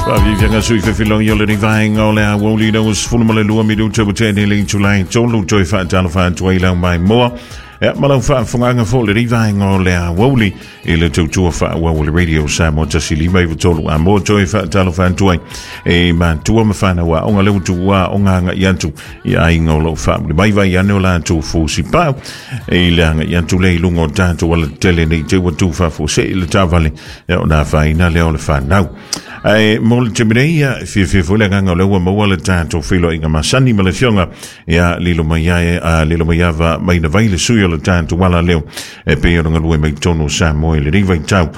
Faafiafiaga sui fefiloi o lenei vaega o le aoauli ina ua 12 minuta ua tea nei le itula e 3 toe faatalofa atu ai lau maimoa ia ma lau faafofogaaga foi lenei vaega o le aoauli i le tautua faaauau o le Radio Samoa 105.3 Amoa toe faatalofa atu ai e matua ma fanau aoga lea ua tuua aoga agai atu i aiga o lo o faamuli mai vai ane o latou fusipau e i le agai atu lea i luga o tatou alatetele nei te ua tu faafuasei le taavale ia ona afaina lea o le fanau. Ae mo le taimi nei, ia, fiafia foi le agaga o lea ua maua le tatou feiloaiga masani ma le afioga ia Lilomaiava Mainavai, le sui o le tatou ala leo e pei ona galue mai totonu o Samoa i lenei vaitau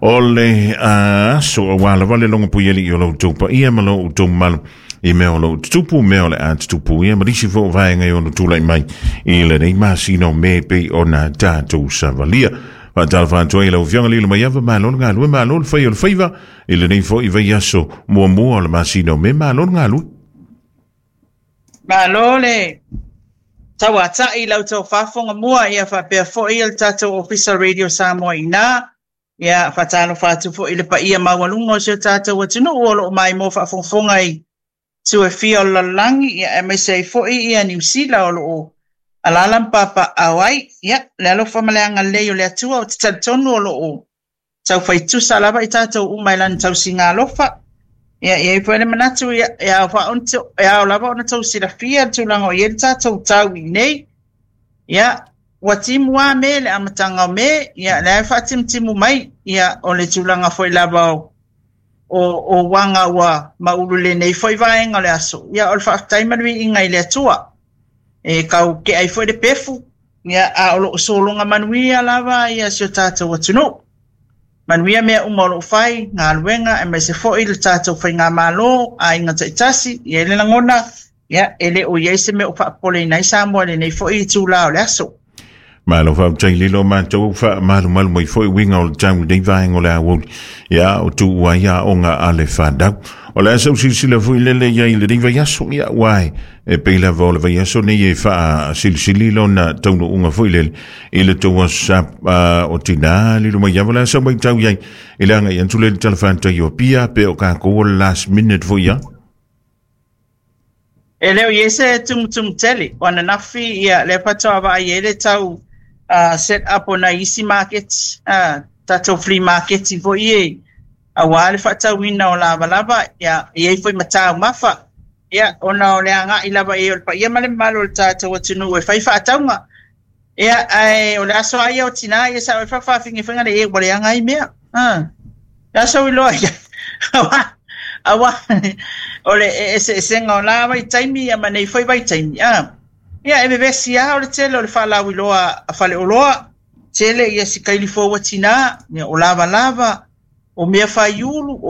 o le aso, aua lava le logo puialii o lo outou paia ma lo outou mamalu i mea o lo o tutupu, mea o le a tutupu ia ma nisi foi o vaega e ono tulai mai i lenei masina o Me pei ona tatou savalia. Faatalofa atu ai i lau Afioga Lilomaiava, malo le galue, malo le fai o le faiva i lenei foi vaiaso muamua o le masina o Me, malo le galue. Malo le tauatai i lau tou faafofoga mua ia faapea foi le tatou Ofisa Radio Samoa i ina. Ia faatalofa atu foi i le paia maualuga o si o tatou atunuu o lo o maimoa faafogafoga i itu e fia o le lalolagi, ia aemaise ai foi ia Niu Sila o lo o alaala ma papaaao ai. Ia, le alofa ma le agalelei o le Atua, ou te talitonu o lo o taufai tusa lava i tatou uma i lana tausiga alofa. Ia, e i ai foi le manatu, ia, e ao, e ao lava ona tou silafia le tulaga o i ai le tatou tau i inei. Ia, ua timu lava Me le amataga o Me, ia, lea e faatimutimu mai, ia, o le tulaga foi lava o, o, o uaga ua maulu i lenei foi vaega o le aso, ia, o le faafetai ma le viiga i le Atua. E tau tea ai foi le pefu, ia, a o lo o sologa manuia lava ia si o tatou atunuu. Manuia mea uma o lo o fai, galuega, aemaise foi le tatou faigamalo, aiga taitasi, e i ai le lagona, ia, e le o i ai se mea o faapopoleina ai Samoa i lenei foi itula o le aso. Malo faafetai lilo matou faamalumalu mai foi uiga o le tau i lenei vaega o le aoauli ia o tuu ai aoga a le fanau. O le a sau silasila foi lele i ai i lenei vaiaso ia aua e pei lava o le vaiaso nei e faasilisili lona taunuuga foi lele i le tou aso sa o tinā lilo mai ava le a sau matau i ai i le agai atu lea i le Tala Faatatau o Apia pe o kākou o le last minute foi ia. E le o i ai se tumutumu tele o ananafi ia lea faatoa vaai ai le tau set up o nai isi maketi, tatou flea maketi foi e aua le faatauina o lavalava, ia, e i ai foi ma taumafa, ia, ona o le agai lava i ai o le paia ma le mamalu o le tatou atunuu e fai faatauga. Ia, ae o le aso lava ia o tinā, ia sa oi faafaafigefega le e ua leaga ai mea. Le aso iloa ia, aua, aua o le eseesega o la vaitaimi ia ma nei foi vaitaimi. Ia, e vevesi lava o le tele o le faalauiloa a faleoloa, tele ia si kaili fou a tinā, ia, o lavalava, o mea faiulu, o